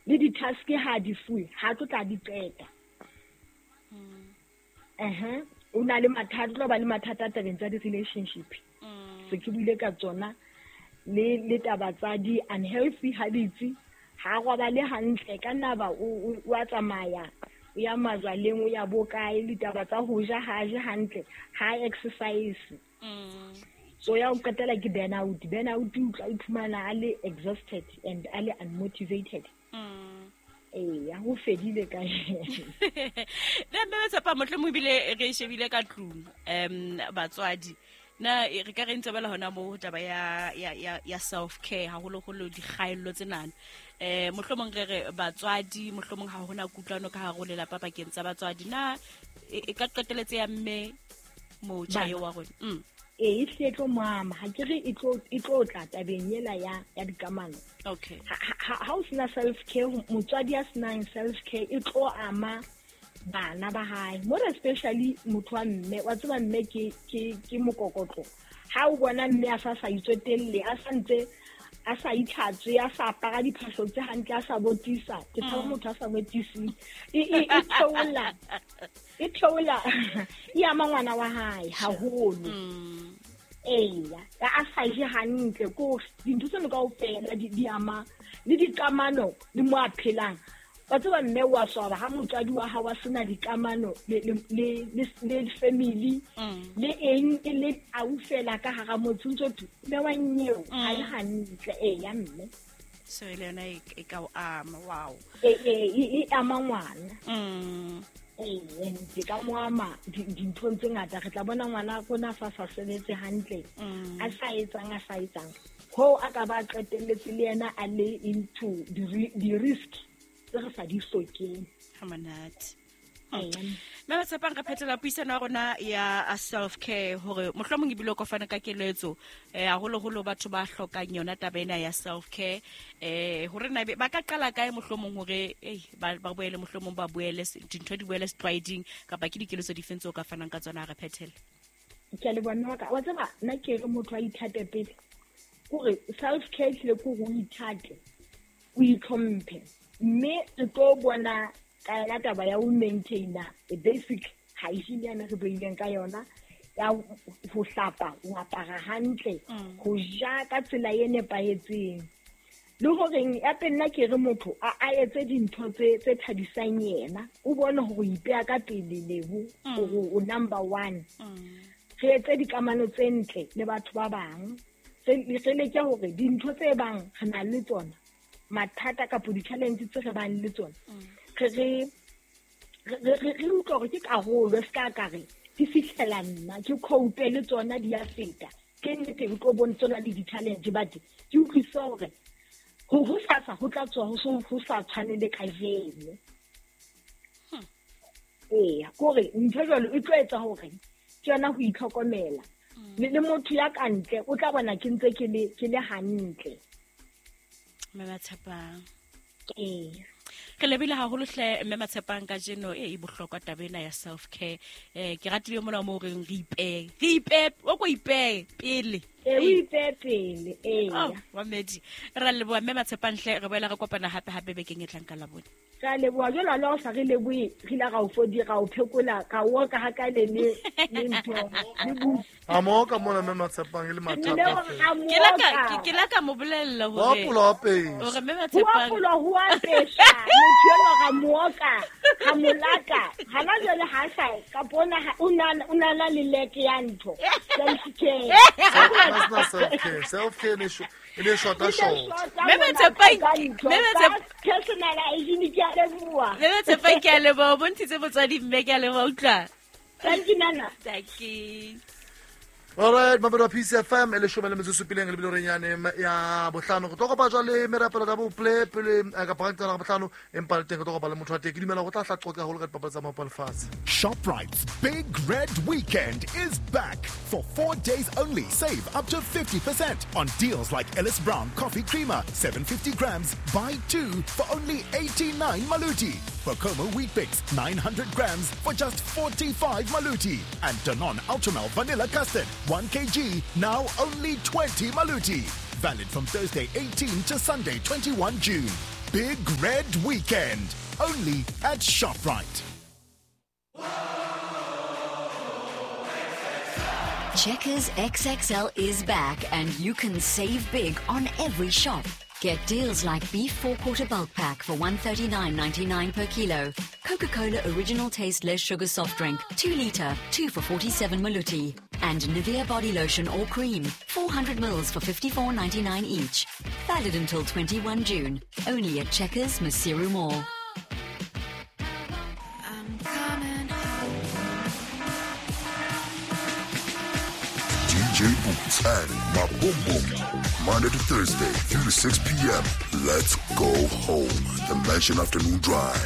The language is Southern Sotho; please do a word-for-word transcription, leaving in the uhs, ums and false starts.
Le di-task ha di fuwe, ha tlo tla di qeta. Uh-huh. O na le mathata, o tlo ba le mathata tabeng tsa di-relationship. Se ke buile ka tsona le le taba tsa di-unhealthy habits, ha robale hantle ka nna ba o o a tsamaya, o ya majwaleng, o ya bo kae, le taba tsa ho ja ha je hantle, ha exercise. So ya o qetela ke burnout. Burnout o tla iphumana a le exhausted and a le unmotivated. Ee, ho fedile ka Le mme tshepa mohlomong ebile re shebile ka tlung, um batswadi na re ka re ntse bela hona mo taba ya ya ya, ya self care haholoholo dikgaello tsenana. Eh mohlomong re re batswadi mohlomong ha hona kutlwano ka hare ho lelapa pakeng tsa batswadi, na e ka qeteletse ya mme motjha eo wa rona? Mm. E hle tlo mama, ha ke re e tlo e tlo tla tabeng ela ya ya dikamano. Okay. Ha ha o sena self care, motswadi ya senang self care e tlo ama bana ba hae, more especially motho wa mme. Wa tseba mme ke ke ke mokokotlo. Ha o bona mme a sa sa itsotelle, a sa ntse a sa itlhatswe, a sa apara diphahlo tse hantle, a sa botisa, ke tshaba motho a sa botiseng, e e e theola, e theola, e ama ngwana wa hae haholo. Eya, a sa je hantle, ko dintho tseno kaofela di di ama le dikamano le mo a phelang. Wa tseba mme wa swaba ha motswadi wa hao a sena dikamano le le le le family le eng e le aufela ka hara motse, ntse thwe mme wa nyeo ha le hantle. Eya mme so le yona e ka o ama. Wow. E e e ama ngwana. Mm. Ee, di ka mo ama dinthong tse ngata. Re tla bona ngwana rona sa sa sebetse hantle, a sa etsang a sa etsang, hoo a ka ba qetelletse le yena a le into di-risk tse re sa di hlokeng. Ha monate. Mme ba tshepang re phethela puisano ya rona ya self care, hore mohlomong ebile o ka fana ka keletso eh haholoholo batho ba hlokang yona taba ena ya self care, eh hore na ba ka qala kae mohlomong hore eh ba ba boele mohlomong ba boele dintho di boele setlwaeding, kapa ke dikeletso dife tse o ka fanang ka tsona? Re phethele. Ke a leboha mme wa ka. Wa tseba nna ke re motho a ithate pele, kore self care ehlile ke hore o ithate, o itlhomphe, mme re tlo bona ka yona taba ya ho maintaina a basic hygiene yana re buileng ka yona, ya ho hlapa, ho apara hantle, ho ja ka tsela e nepahetseng, le horeng ya pele nna ke re motho a a etse dintho tse tse thabisang yena, o bone hore o ipeha ka pele lebo, hore o number one. Re etse dikamano tse ntle le batho ba bang, re leke hore dintho tse bang re na le tsona, mathata kapa di-challenge tse re bang le tsona, re re re re utlwa hore ke karolo, se ka ka re di fihlela nna, ke cope le tsona di a feta. Ke nnete o tlo bontsha le di-challenge, but ke utlwisisa hore ho hosasa ho tla tswa ho so ho sa tshwane le kajeno. Eya, kore ntho jwalo e tlo etsa hore ke yona ho itlhokomela. Le le motho ya ka ntle o tla bona ke ntse ke le ke le hantle. Mme ba tshepang. Ee. Re lebile haholo hle mme Matshepang kajeno e bohlokwa taba ena ya self care. Eh ke ratile mona mo reng re ipehe. Re ipehe, o ko ipehe pele. E o ipehe pele, ee. Oh, wa medi. Re leboha mme Matshepang hle, re boela re kopana hape hape bekeng e tlang ka Labone. Ka leboha jwalo le ha o sa re lebohe, re ile ra o fodi, ra o phekola, ka oka ha ka le le le ntho, le bu. A mo ka mona mme Matshepang e le mathata. Ke la ka ke la ka mo bolella hore Wa pula wa pesa. Hore mme Matshepang Wa pula ho a pesa. Motho enwa ra mo oka, ra mo laka. Hana jwale ha sa ka bona o na o na le leke ya ntho. Self care. Self care. Self care ne e ne short short. Mme Matshepang, mme Matshepang personal hygiene ke a leboha. Mme Matshepang ke a leboha, o bontshitse motswadi mme ke a leboha utlwa. Thank you nana. Thank you. All right, mabelo P C F M e leshome le metso e supileng le bile re nyane ya bohlano. Re tlo kopa jwale merapelo da bople pele ka paka la bohlano, empa le teng re tlo kopa le motho wa teng. Ke dumela go tla hla qoqa haholo ka dipapadi tsa maoto a lefatshe. ShopRite's Big Red Weekend is back. For four days only, save up to fifty percent on deals like Ellis Brown Coffee Creamer, seven hundred fifty grams, buy two for only eighty-nine maluti. Bokomo Wheat Bix, nine hundred grams for just forty-five maluti. And Danone Ultramel Vanilla Custard, one kilogram, now only twenty maluti. Valid from Thursday eighteenth to Sunday twenty-first June. Big Red Weekend, only at ShopRite. Checkers X X L is back and you can save big on every shop. Get deals like beef four-quarter bulk pack for one thirty-nine ninety-nine per kilo, Coca-Cola original taste less sugar soft drink, two litre, two for forty-seven maluti, and Nivea body lotion or cream, four hundred mils for fifty-four ninety-nine each. Valid until twenty-one June, only at Checkers Maseru Mall. I'm coming home. D J Boots and Maboom Boom. Monday to Thursday, three to six P M. Let's go home. The Mansion Afternoon Drive.